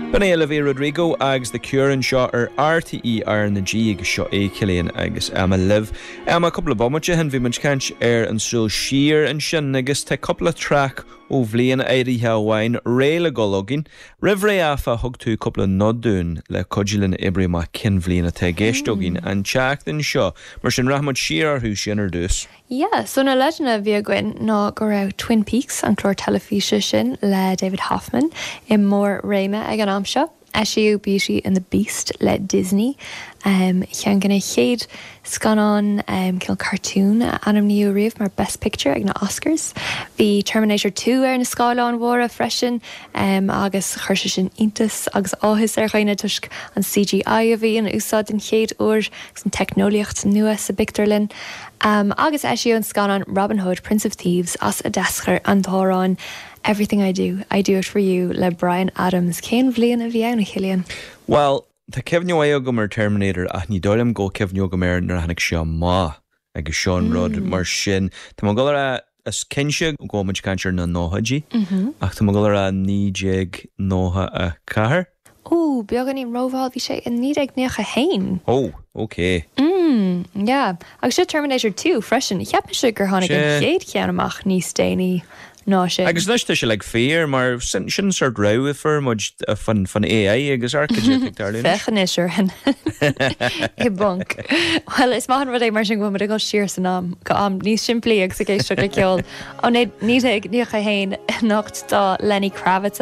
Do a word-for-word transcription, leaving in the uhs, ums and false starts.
B'in é Olivia Rodrigo agus The Cure anseo ar R T É R na G agus seo é Cillian agus Emma libh. Emma, cúpla bomaite ó shin bhí muid ag caint ar an súil siar ansin agus tá cúpla traic ó bhliain áirithe amháin réidh le dul againn. Roimh ré, áfach, thug tú cúpla nod dúinn le cuidiú linn oibriú amach cén bhliain atá i gceist againn an tseachtain seo, mar sin rachaimid siar orthu sin ar dtús. Yeah, so na leideanna a bhí againn ná go raibh Twin Peaks, an clár teilifíse sin le David Hoffman, i mbarr réime ag an am seo. Eisíodh Beauty and the Beast le Disney. Um, ceann de na chéad scannán um, cineál cartún a ainmníodh riamh mar Best Picture ag na Oscars. Bhí Terminator two ar na scáileáin mhóra freisin um, agus chuir sé sin iontas agus áthas ar dhaoine toisc an C G I a bhí in úsáid den chéad uair agus an teicneolaíocht nua sa bpictiúrlann. Um, agus eisíodh an scannán Robin Hood Prince of Thieves as a d'eascair an t-amhrán Everything I Do, I Do It For You le Bryan Adams. Cén bhliain a bhí ann, a Chillian? Well, tá cuimhne agam ar Terminator ach ní dóigh liom go cuimhne agam air nuair a tháinig sé amach agus seo an rud mar sin. Tá mé ag dul a rá, is cinnte go bhfuil muid ag caint ar na nóchaidí ach tá mé ag dul a rá naoi déag nócha a ceathair. Ó, beagáinín rómhall, bhí sé in naoi déag nócha a haon. Ó, ok. Mm, yeah. Agus sé Terminator two freisin, cheap mise gur tháinig an chéad cheann amach níos déanaí ná sin. Agus anois tá sé like fíor mar sin sin sort rabhadh fuair muid fan fan A I agus ar Féach ar hin i bponc. Well, is maith an rud é mar sin go bhfuil go siar san am go am níos simplí agus ag éisteacht le ceol. Ó naoi déag nócha a haon anocht tá Lenny Kravitz.